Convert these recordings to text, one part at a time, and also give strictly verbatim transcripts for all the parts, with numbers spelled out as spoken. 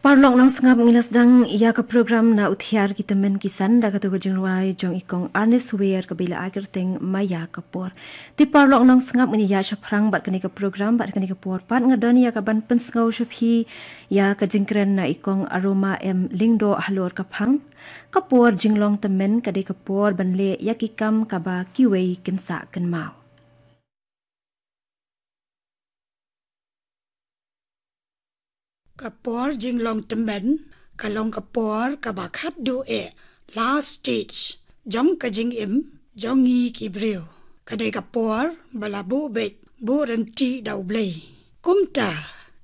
Paralok nongsngap, ngi la sdang ïa ka program Na U Thiar ki Tymmen ki San da katu ka jingrwai jong i Kong Ernest Ware kaba la ai kyrteng Maya ka Por. Te paralok nongsngap, ngin ïa shaphrang bad kane ka program bad kane ka por pat nga don ïa ka ban pynsngew sha phi ïa ka jingkren na i Kong Aroma M Lyngdoh halor ka phang: Ka por jinglong tymmen ka dei ka por ban leh ïa ki kam kaba kiwei kin sah kynmaw. Ka por jinglong tymmen ka long ka por kaba khatduh eh, last stage, jong ka jingim jong ngi ki briew. Ka dei ka por ba la buh beit buh ryntih da U Blei. Kumta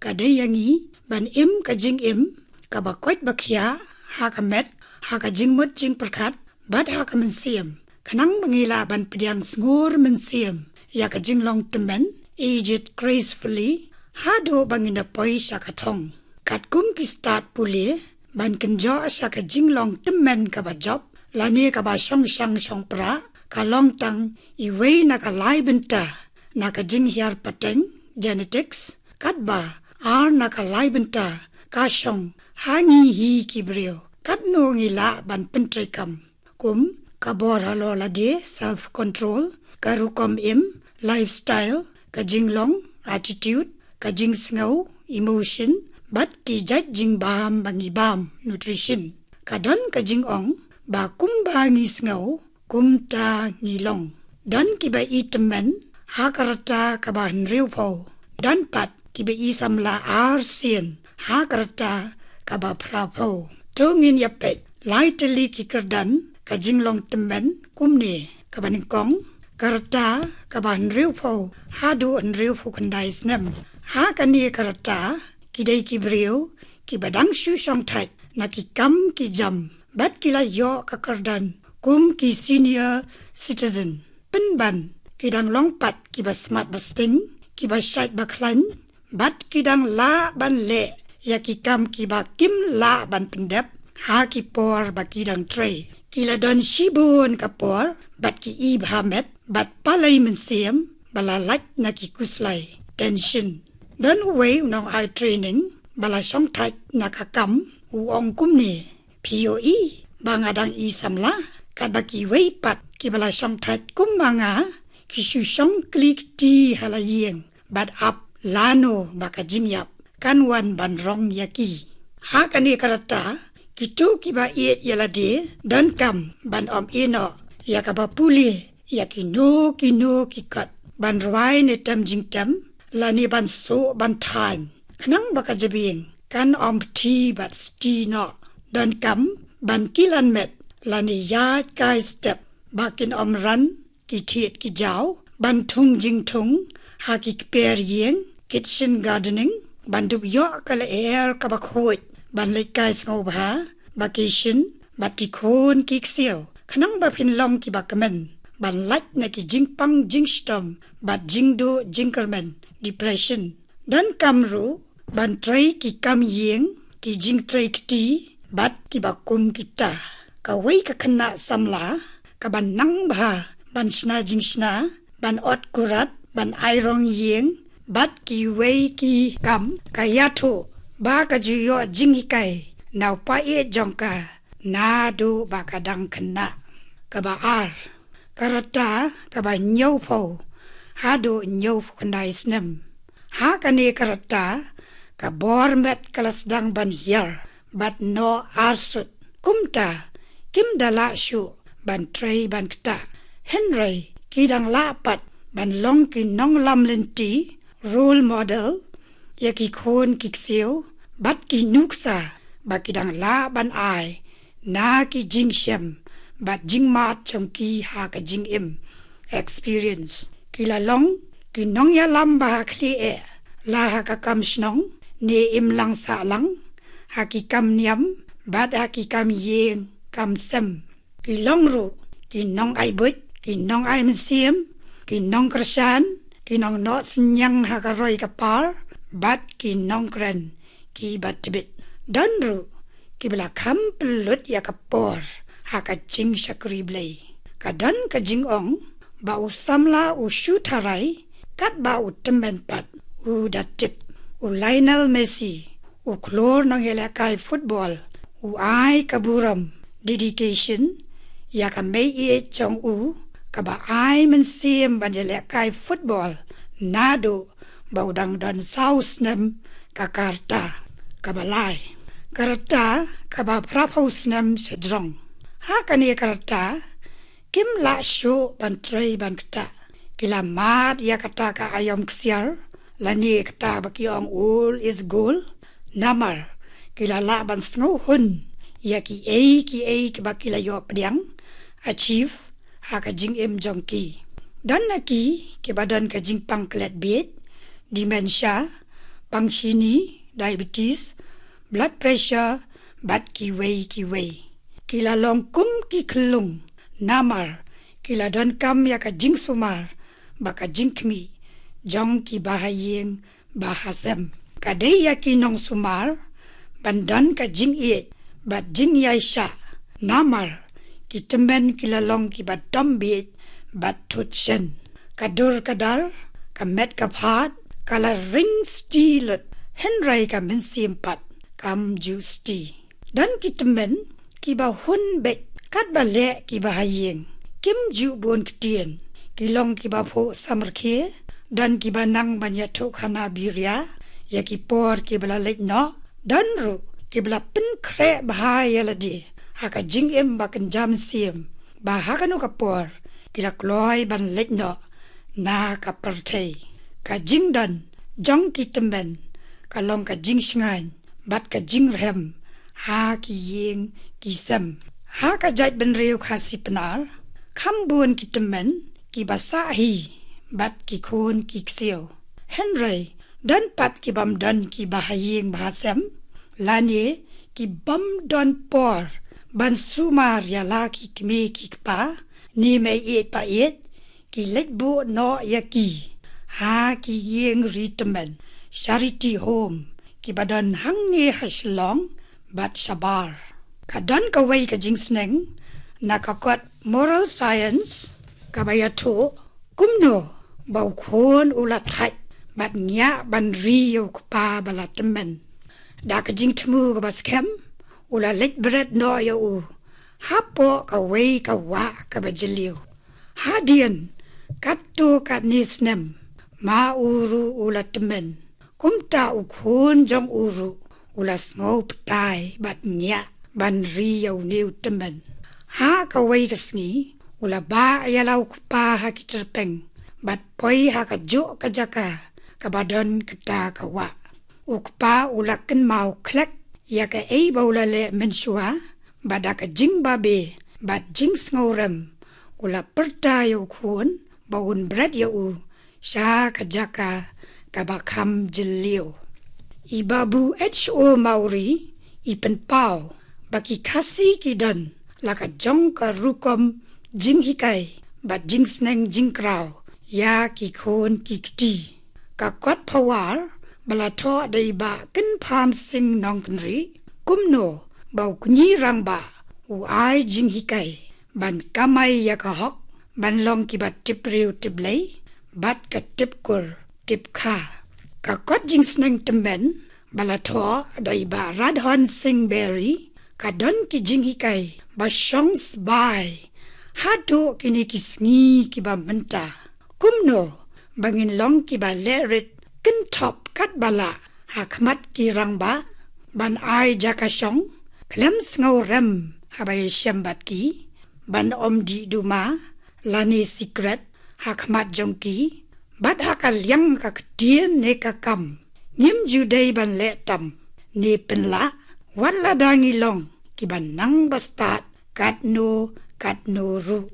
ka dei ïa ngi ban im ka jingim kaba koit ba khiah ha ka met, ha ka jingmut jingpyrkhat bad ha ka mynsiem, khnang ba ngi lah ban pdiang sngur mynsiem ïa ka jinglong tymmen, age it gracefully, haduh ba ngin da poi sha ka thong. Katkum ki stad pule, ban kynjoh sha ka jinglong tymmen kaba jop lane kaba shongshang shongpra, ka long tang iwei na ka lai bynta na ka jinghiar pateng, genetics, katba ar na ka lai bynta ka shong ha ngi hi ki briew, katno ngi lah ban pyntreikam. Kum ka bor halor lade, self control, ka rukom im, lifestyle, ka jinglong, attitude, ka jingsngew, emotion, bad ki jait jingbam ba ngi bam, nutrition. Ka don ka jingong ba kumba ngi sngew kumta ngi long. Don kiba i tymmen ha ka rta kaba hynriewphew. Don pat kiba i samla arsien ha ka rta kaba phraphew. To ngin ïa peit lai tylli ki kyrdan ka jinglong tymmen kumne: kaba nyngkong, ka rta kaba hynriewphew haduh hynriewphew khyndai snem. Ha kane ka rta ki dei ki briew kiba dang shu shongthait na ki kam ki jam bad ki la ïoh ka kyrdan kum ki senior citizen. Pynban ki dang long pat kiba smat ba sting, kiba shait ba khlaiñ, bad ki dang lah ban leh ïa ki kam kiba kim lah ban pyndep ha ki por ba ki dang trei. Ki la don shibun ka por bad ki i bha met bad palei mynsiem ba la lait na ki khuslai, tension. Don uwei u nongai training ba la shongthait na ka kam, u ong kumne: Phi ïohi ba nga dang i samla, katba kiwei pat kiba la shongthait kum ma nga ki shu shong kli kti ha la ïing bad ap lano ba ka jingïap kan wan ban rong ïa ki. Ha kane ka rta kito kiba ïeit ïa lade donkam ban ym ïehnoh ïa kaba pule ïa kino kino ki kot, ban rwai ne tem jingtem lane ban suh ban thaiñ, khnang ba ka jabieng kan ym pthi bad sti noh. Donkam ban kilan met lane ïaid kai step ba kin ym ran ki thied ki jaw, ban thung jingthung ha ki kper ïing, kitchen gardening, ban dup ïoh ka lyer kaba khuid, ban leit kai sngewbha, vacation, bad ki khun ki ksiew, khnang ba phin long kiba kmen ban lait na ki jingpang jingshitom bad jingduh jingkyrmen, depression. Donkam ruh ban trei ki kam ïing, ki jingtrei kti bad kiba kum kita. Kawei ka khynnah samla kaba nang bha ban shna jingshna, ban ot kurat, ban ai rong ïing bad kiwei ki kam, ka ïathuh ba ka ju ïoh jinghikai na u paid jong ka naduh ba ka dang khynnah. Kaba ar, ka rta kaba hynñiewphew haduh hynñiewphew khyndai snem. Ha kane ka rta ka bor met ka la sdang ban hiar bad noh arsut. Kumta kim da lah shuh ban trei ban ktah, hynrei ki dang lah pat ban long ki nonglam lynti, role model, ïa ki khun ki ksiew bad ki nuksa ba ki dang lah ban ai na ki jingshem bad jingmut jong ki ha ka jingim, experience. Ki la long ki nongïalam ba ha khlieh, la ha ka kam shnong ne imlang sahlang, ha ki kam niam bad ha ki kam ïing kam sem. Ki long ruh ki nongai buit, ki nongai mynsiem, ki nongkyrshan, ki nongnoh synñiang ha ka roi ka par, bad ki nongkren kiba tbit. Don ruh kiba la kham pynlut ïa ka por ha ka jingshakri Blei. Ka don ka jingong ba u samla u shu tharai katba u tymmen pat u da tip. U Lionel Messi, U khlur nongïalehkai football u ai ka burom, dedication, ïa ka mei ïeit jong u, kaba ai mynsiem ban ïalehkai football naduh ba u dang don saw snem. Ka ka rta kaba lai, ka rta kaba phraphew snem shajrong. Ha kane ka rta kim lah shuh ban trei ban ktah. Ki la mad ïa kata ka aïom ksiar, lane kata ba ki ong old is gold. Namar ki la lah ban sngewhun ïa kiei kiei kiba ki la ïoh pdiang, achieve, ha ka jingim jong ki. Don na ki kiba don ka jingpang klet bieit, dementia, pang shini, diabetes, blood pressure, bad kiwei kiwei. Ki la long kum ki khyllung, namar ki la donkam ïa ka jingsumar bad ka jingkhmih jong ki bahaïing bahasem. Ka dei ïa ki nongsumar ban don ka jingïeit bad jingïaishah, namar ki tymmen ki la long kiba dom bieit bad thut shen. Ka dur ka dar, ka met ka phad, ka la ring sti lut, hynrei ka mynsiem pat kam ju sti. Don ki tymmen kiba hun beit, katba leh ki bahaïing, kim ju bun ktien. Ki long kiba phuh samrkhie, don kiba nang ban ïathuh khana biria ïa ki por kiba la leit noh. Don ruh kiba la pynkhreh bha ïa lade ha ka jingim ba kynja mynsiem, ba ha kano ka por ki la kloi ban leit noh na ka pyrthei. Ka jingdon jong ki tymmen ka long ka jingshngaiñ bad ka jingrhem ha ki ïing ki sem. Ha ka jaitbynriew Khasi Pnar, kham bun ki tymmen kiba sah hi bad ki khun ki ksiew. Hynrei don pat ki bym don ki bahaïing bahasem, lane ki bym don por ban sumar ïa la ki kmie ki kpa, ne mei ïeit pa ïeit, ki leit buh noh ïa ki ha ki ïing ri tymmen, charity home, kiba don hangne ha Shillong bad shabar. Ka don kawei ka jingsneng na ka kot moral science kaba ïathuh kumno ba u khun u la thait bad ngiah ban ri ïa u kpa ba la tymmen. Da ka jingthmu kaba skhem u la leit bret noh ïa u hapoh kawei ka wah kaba jylliew. Hadien katto katne snem, ma u ruh u la tymmen. Kumta u khun jong u ruh u la sngew pyrthei bad ngiah ban ri ïa une u tymmen. Ha kawei ka sngi u la bah ïa la u kpa ha ki tyrpeng bad poi ha kajuh ka jaka kaba don kata ka wah. U kpa u la kynmaw khlek ïa kaei ba u la leh mynshuwa, bad da ka jingbabe bad jingsngewrem u la pyrta ïa u khun ba un bret ïa u sha ka jaka kaba kham jylliew. I Babu H O Mawrie i pynpaw ba ki Khasi ki don la ka jong ka rukom jinghikai bad jingsneng jingkraw ïa ki khun ki kti. Ka kot Pawar ba la thoh da i Bah Kynpham Sing Nongkynrih, kumno ba u kñi rangbah u ai jinghikai ban kamai ïa ka hok, ban long kiba tip briew tip Blei bad ka tip kur tip kha. Ka kot jingsneng tymmen ba la thoh da i Bah Radhon Sing Berry ka don ki jinghikai ba shong sbai haduh kine ki sngi kiba mynta. Kumno ba ngin long kiba leh rit kynthoh katba lah ha khmat ki rangbah, ban ai jaka shong khlem sngewrem haba ïashem bad ki, ban ym dih duma lane sikret ha khmat jong ki, bad ha ka liang ka ktien ne ka kam ngim ju dei ban leh tam ne pynlah, wat lada ngi long kiba nang bastad katno katno ruh.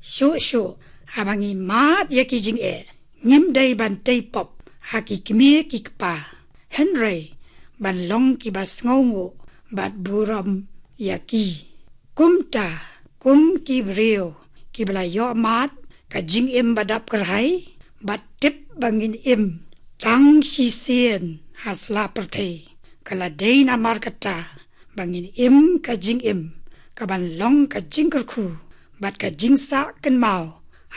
Shuh shuh haba ngi mad ïa ki jingeh, ngim dei ban tei pop ha ki kmie ki kpa, hynrei ban long kiba sngewnguh bad burom ïa ki. Kumta, kum ki briew kiba la ïoh mad ka jingim ba dap kyrhai, bad tip ba ngin im tang shisien ha sla pyrthei, ka la dei namar kata ba ngin im ka jingim kaban long ka jingkyrkhu bad ka jingsah kynmaw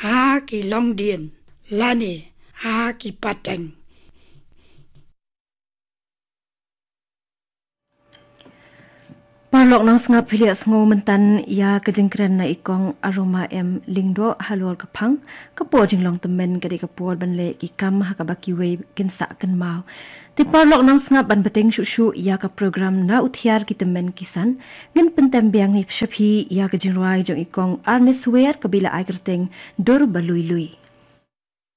ha ki longdien lane ha ki pateng. Paralok nongsngap, phi la ïa sngew mynta ïa ka jingkren na i Kong Aroma M Lyngdoh halor ka phang, ka por jinglong tymmen ka dei ka por ban leh ki kam ha kaba kiwei kin sah kynmaw. Te paralok nongsngap, ban bteng shuh shuh ïa ka program Na U Thiar Ki Tymmen Ki San, ngin pyntem biang ïa phi ïa ka jingrwai jong i Kong Arnes Wer kaba la ai kyrteng Dur Ba Lui Lui.